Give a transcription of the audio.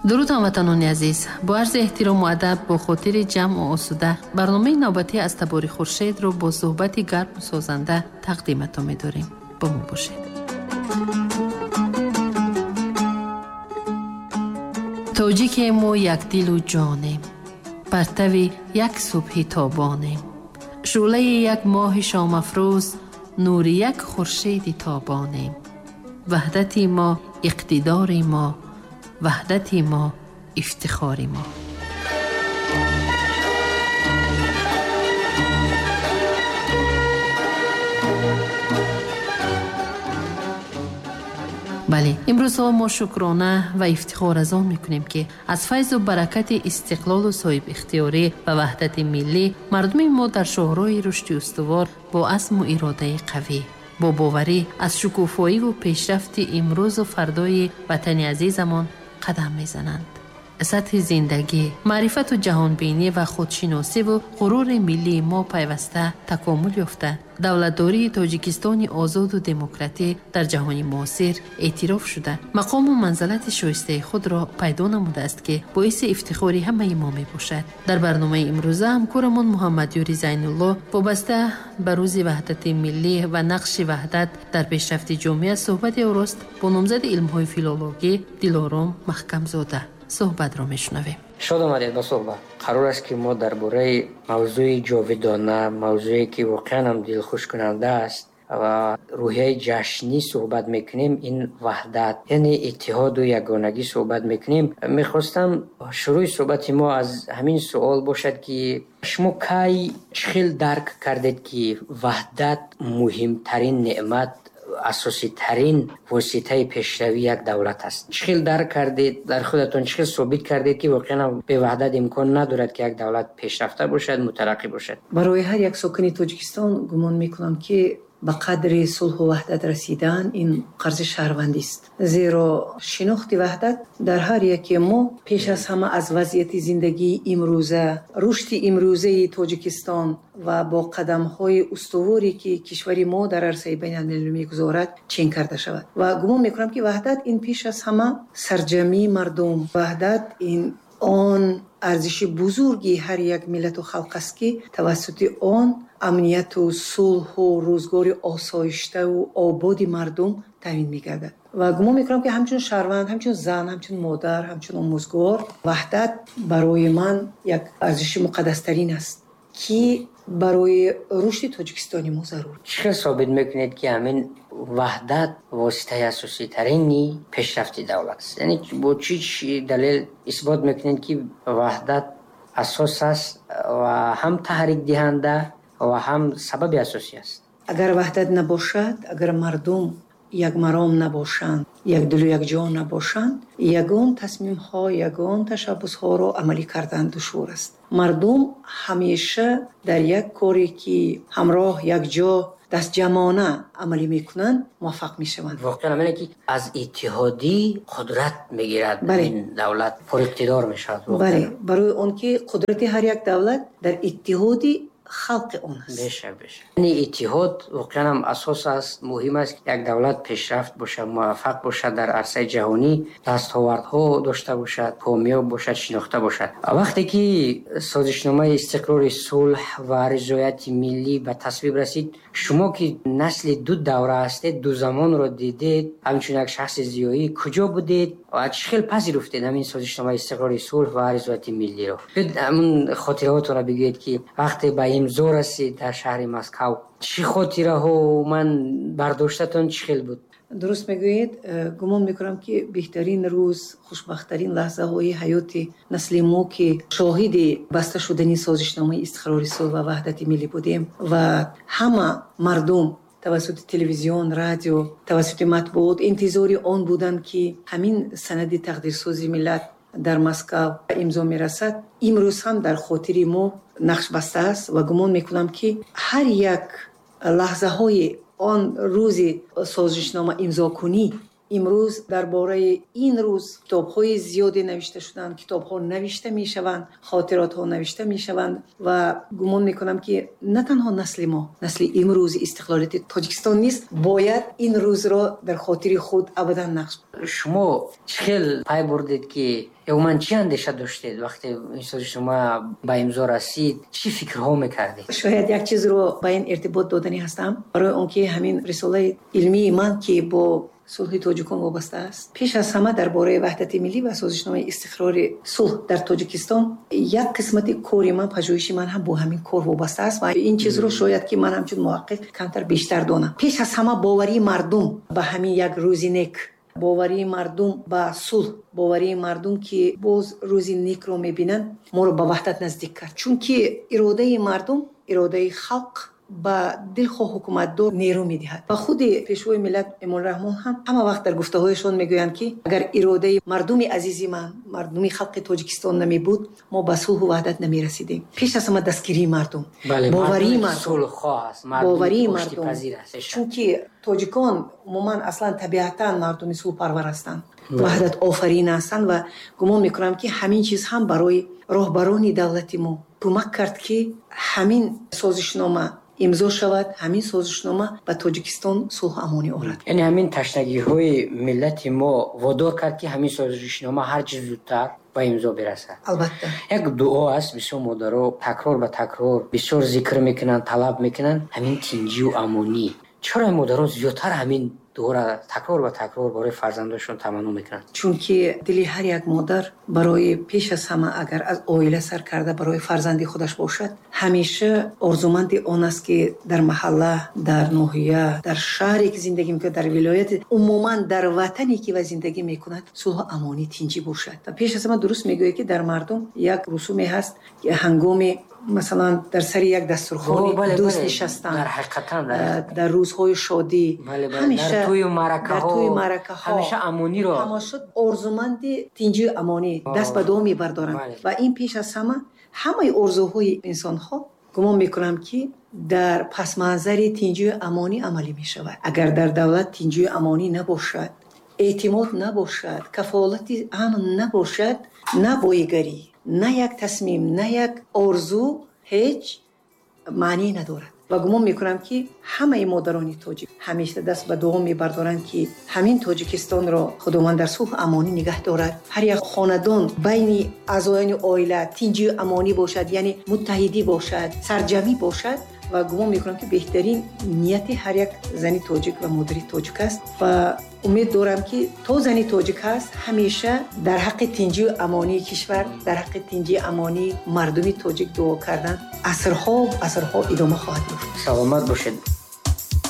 Дуруд, ҳамватанони азиз! Бо арзи эҳтирому адаб, бо хотири ҷамъу осуда барномаи навбатӣ аз Табори Хуршедро бо суҳбати гарму созанда тақдиматон медорем. Бо мо бошед. Тоҷикему якдилу ҷонем, партави як субҳи тобонем, шӯълаи як моҳи шомафрӯз, нури як хуршеди тобонем. Ваҳдати мо иқтидори мо, ваҳдати мо ифтихори мо. Бале, имрӯзҳо мо шукрона ва ифтихор аз он мекунем, ки аз файзу баракати истиқлолу соҳибихтиёрӣ ва ваҳдати миллӣ мардуми мо дар шоҳроҳи рушди устувор бо азму иродаи қавӣ, бо боварӣ аз шукуфоиву пешрафти имрӯзу фардои ватани азизамон қадам мезананд. Сатҳи зиндагӣ, маърифату ҷаҳонбинӣ ва худшиносиву ғурури миллии мо пайваста такомул ёфта, давлатдории Тоҷикистони озоду демократӣ дар ҷаҳони муосир эътироф шуда, мақому манзалати шоистаи худро пайдо намудааст, ки боиси ифтихори ҳамаи мо мебошад. Дар барномаи имрӯза ҳамкорамон Муҳаммадёри Зайнулло вобаста ба рӯзи ваҳдати миллӣ ва нақши ваҳдат дар пешрафти ҷомеа суҳбати орост бо номзади илмҳои филологӣ Дилором Маҳкамзода. Суҳбатро мешунавем. Шод омадед ба суҳбат. Қарор аст, ки мо дар бораи мавзӯи ҷовидона, мавзӯе ки воқеан ҳам дилхушкунанда аст ва рӯҳияи ҷашнӣ суҳбат мекунем. Ин ваҳдат, яъне иттиҳоду ягонагӣ суҳбат мекунем. Мехостам шурӯи суҳбати мо аз ҳамин суол бошад, ки шумо кай, чӣ хел дарк кардед, ки ваҳдат муҳимтарин неъмат, асоситарин воситаи пешравии як давлат аст? Чӣ хел дарк кардед дар худатон, чӣ хел собит кардед, ки воқеан беваҳдат имкон надорад, ки як давлат пешрафта бошад, мутараққӣ бошад? Барои ҳар як сокини Тоҷикистон гумон мекунам, ки ба қадри сулҳу ваҳдат расидан ин қарзи шаҳрвандист, зеро шинохти ваҳдат дар ҳар яке мо пеш аз ҳама аз вазъияти зиндагии имрӯза, рушди имрӯзаи Тоҷикистон ва бо қадамҳои устуворе, ки кишвари мо дар арсаи байналмилалӣ мегузорад, чен карда шавад. Ва гумон мекунам, ки ваҳдат ин пеш аз ҳама сарҷамъии мардум, ваҳдат ин он арзиши бузурги ҳар як миллату халқ аст, ки тавассути он амнияту сулҳу рӯзгори осоиштаву ободи мардум таъмин мегардад. Ва гумон мекунам, ки ҳамчун шаҳрванд, ҳамчун зан, ҳамчун модар, ҳамчун омӯзгор ваҳдат барои ман як арзиши муқаддастарин аст, ки барои рушди Тоҷикистони мо зарур. Чӣ хел собит мекунед, ки ҳамин ваҳдат воситаи асоситарини пешрафти давлат аст? Яъне бо чӣ далел исбот мекунед, ки ваҳдат асос аст ва ҳам таҳрикдиҳанда ва ҳам сабаби асосӣ аст? Агар ваҳдат набошад, агар мардум якмаром набошанд, якдилу якҷон набошанд, ягон тасмимҳо, ягон ташаббусҳоро амалӣ кардан душвор аст. Мардум ҳамеша дар як коре, ки ҳамроҳ, якҷо, дастҷамъона амалӣ мекунанд, муваффақ мешаванд. Воқеан ҳамине, ки аз иттиҳодӣ қудрат мегирад, ин давлат пуриқтидор мешавад. Бале, барои он ки қудрати ҳар як давлат дар иттиҳоди халқи он аст. Бешак, бешак. Яъне иттиҳод воқеан ҳам асос аст, муҳим аст, як давлат пешрафт бошад, муваффақ бошад, дар арсаи ҷаҳонӣ дастовардҳо дошта бошад, комёб бошад, шинохта бошад. Вақте ки созишномаи истиқрори сулҳ ва ризояти миллӣ ба тасвиб расид, шумо ки насли ду давра ҳастед, ду замонро дидед, ҳамчун як шахси зиёӣ куҷо будед ва чӣ хел пазируфтед ҳамин созишномаи истиқрори сулҳ ва ризояти миллиро? Биёед, ҳамун хотираҳотонро бигӯед, ки вақте ба имзо расид дар шаҳри Москав, чӣ хотираҳо ман бардоштатон чӣ хел буд? Дуруст мегӯед. Гумон мекунам, ки беҳтарин рӯз, хушбахттарин лаҳзаҳои ҳаёти насли мо, ки шоҳиди баста шудани созишномаи истиқрори сулҳ ва ваҳдати миллӣ будем ва ҳама мардум тавассути телевизион, радио, тавассути матбуот интизори он буданд, ки ҳамин санади тақдирсози миллат дар Москав имзо мерасад, имрӯз ҳам дар хотири мо нақш баста аст. Ва гумон мекунам, ки ҳар як лаҳзаҳои он рӯзи созишнома имзокунӣ Имрӯз дар бораи ин рӯз китобҳои зиёде навишта шуданд, китобҳо навишта мешаванд, хотиротҳо навишта мешаванд ва гумон мекунам, ки на танҳо насли мо, насли имрӯзи истиқлолияти Тоҷикистон низ бояд ин рӯзро дар хотири худ абадан нақш. Шумо чӣ хел пай бурдед, ки умуман чӣ андеша доштед, вақте ин созишнома ба имзо расид, чӣ фикрҳо мекардед? Шояд як чизро ба ин иртибот доданӣ ҳастам, барои он ки ҳамин рисолаи илмии ман, ки бо сулҳи тоҷикон вобаста аст, пеш аз ҳама дар бораи ваҳдати миллӣ ва созишномаи истиқрори сулҳ дар Тоҷикистон, як қисмати кори ман, пажӯҳиши ман ҳам бо ҳамин кор вобаста аст ва ин чизро шояд ки ман ҳамчун муҳаққиқ камтар бештар донам. Пеш аз ҳама боварии мардум ба ҳамин як рӯзи нек, боварии мардум ба сулҳ, боварии мардум, ки боз рӯзи некро мебинанд, моро ба ваҳдат наздик кард, чунки иродаи мардум, иродаи халқ ба дилхоҳ ҳукуматдор нерӯ медиҳад. Ва худи Пешвои миллат Эмомалӣ Раҳмон ҳам ҳама вақт дар гуфтаҳояшон мегӯянд, ки агар иродаи мардуми азизи ман, мардуми халқи Тоҷикистон намебуд, мо ба сулҳу ваҳдат намерасидем. Пеш аз ҳама дастгирии мардум, боварии мардум, боварии мардум, чунки тоҷикон умуман, аслан, табиатан мардуми сулҳпарвар ҳастанд, ваҳдатофарин ҳастанд. Ва гумон мекунам, ки ҳамин чиз ҳам барои роҳбарони давлати мо кӯмак кард, ки ҳамин созишнома имзо шавад, ҳамин созишнома ба Тоҷикистон сулҳу амонӣ орад. Яъне ҳамин ташнагиҳои миллати мо водор кард, ки ҳамин созишнома ҳарчи зудтар ба имзо бирасад. Албатта. Як дуо аст, бисёр модаро такрор ба такрор бисёр зикр мекунанд, талаб мекунанд, ҳамин тинҷию амонӣ. Чаро модаро зиёдтар ҳамин дуоро такрор ба такрор барои фарзандошон таманно мекунанд? Чунки дили ҳар як модар барои, пеш аз ҳама агар аз оила сар карда, барои фарзанди худаш бошад, ҳамеша орзуманди он аст, ки дар маҳалла, дар ноҳия, дар шаҳре ки зиндагӣ мекунад, дар вилояти, умуман дар ватане ки ва зиндагӣ мекунад, сулҳу амонӣ, тинҷӣ бошад. Ва пеш аз ҳама дуруст мегӯяд, ки дар мардум як русуме ҳаст, ки ҳангоми, масалан, дар сари як дастурхони дӯст нишастан, дар рӯзҳои шодӣ, ҳамеша дар тӯю маъракаҳо ҳамеша амониро, ҳамеша орзуманди тинҷию амонӣ даст ба дуо мебардоранд. Ва ин пеш аз ҳама, ҳамаи орзуҳои инсонҳо, гумон мекунам, ки дар пасманзари тинҷию амонӣ амалӣ мешавад. Агар дар давлат тинҷию амонӣ набошад, эътимод набошад, кафолати амн набошад, на боигарӣ, на як тасмим, на як орзу ҳеҷ маънӣ надорад. Ва гумон мекунам, ки ҳамаи модарони тоҷик ҳамеша даст ба дуо мебардоранд, ки ҳамин Тоҷикистонро Худованд дар сулҳу амонӣ нигаҳ дорад, ҳар як хонадон, байни аъзоёни оила тинҷию амонӣ бошад, яъне муттаҳидӣ бошад, сарҷамӣ бошад. Ва гумон мекунам, ки беҳтарин нияти ҳар як зани тоҷик ва модари тоҷик аст. Ва умед дорам, ки то зани тоҷик ҳаст, ҳамеша дар ҳаққи тинҷию амонии кишвар, дар ҳаққи тинҷию амонии мардуми тоҷик дуо кардан асрҳо асрҳо идома хоҳад ёфт. Саломат бошед.